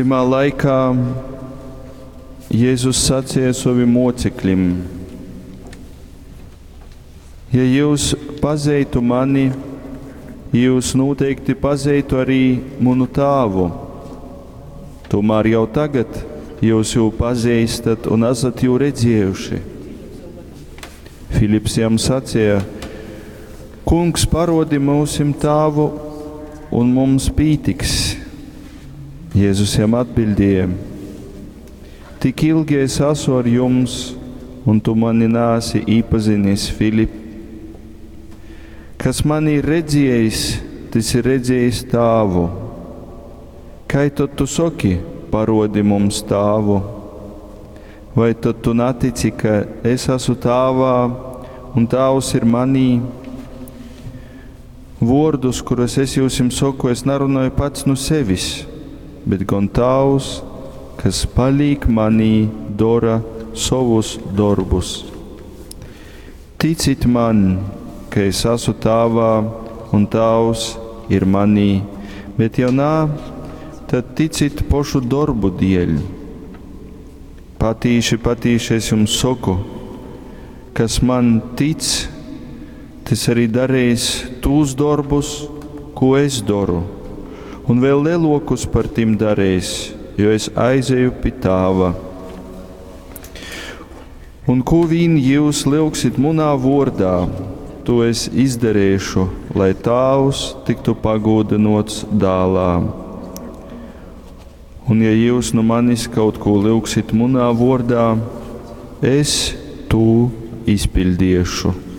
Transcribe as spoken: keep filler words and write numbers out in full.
Tymā laikā Jēzus saceja sovim moceklim: Ja jūs pazeitu mani, jūs noteikti pazeitu arī munu tāvu. Tomēr jau tagad jūs jū pazīstat un esat jū redzējuši. Filips jam sacīja: Kungs, parodi mūsim tāvu, un mums pītiks. Jēzus jam atbildēja: Tik ilgi es esmu ar jums, un tu mani nāsi īpazinis, Filip. Kas mani ir redzējis, tas ir redzējis tāvu. Kai tad tu soki, parodi mums tāvu? Vai tad tu netici, ka es esmu tāvā un tāvs ir manī? Vārdus, kurus es jums saku, es nerunāju pats no sevis, bet gan tāvs, kas paliek manī, dara savus darbus. Ticit man, ka es esmu tāvā un tāvs ir manī, bet ja nā, tad ticit pošu darbu dēļ. Patīši, patīši es jums saku, kas man tic, tas arī darīs tūs darbus, ko es daru, un vēl lielākus par tiem darīs, jo es aizeju pie tāva. Un ko vien jūs lūgsit munā vārdā, to es izdarīšu, lai tāvs tiktu pagodinots dālā. Un ja jūs no manis kaut ko lūgsit munā vārdā, es to izpildīšu.